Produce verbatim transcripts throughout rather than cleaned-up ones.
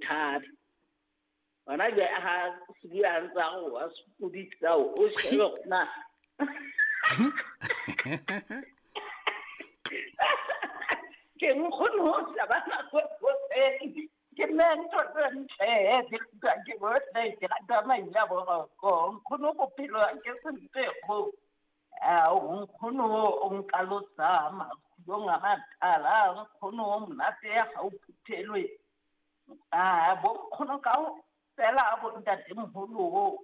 thabe. Hona jwale ha se bua a ntse a re wa sokodisa o shebe hore na. Ke nkgono o shebana hoseng. Ke nne ntho tse ntle di rutwa ke bohle, ke rata maina a boroko. Nkgono bophelo ha ke se go. Ao nkgono o nkalosa makhulong a matala, nkgono o monate ha o phuthelwe. Ah, bo nkgono kaofela bo ntatemoholo,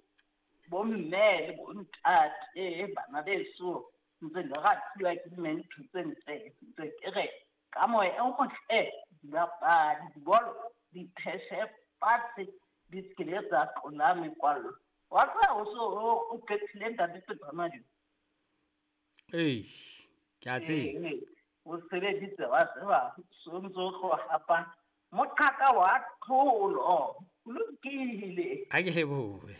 bo mme le bo ntate, bana beso ntse le ratuwa ke mme ntho tse ntle. Ntse ke re ka moya o motle dibapadi dibolo di pheshe fatshe di se ke tsa tlola mekwallo. Wa tseba o so o qetile ntate Pepamadi? Ee, ke a tseba. Ee, o sebeditse wa tseba so ntso tlo hapa moqhaka wa tlholo. Ho lokile. Ha ke lebohe.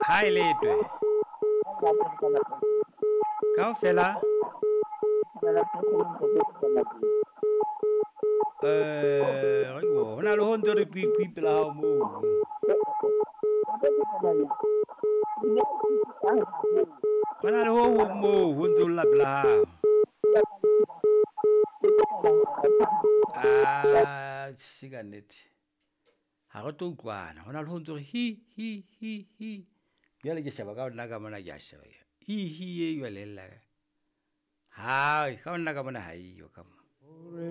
Ha e letwe. Kaofela. Eh, re ke ho na le ho ntho re kwi kwi pela hao moo. Ho na le ho hong moo ho ntso lla pela hao. Ah, se ka nnete. Ha re tlo utlwana. Ho na le ho ntso re hi hi hi hi. Jwale ke sheba ka nna ka mona ke a sheba. Hi hi e jwale lla. Hai, ka nna ka mona ha eyo ka mo.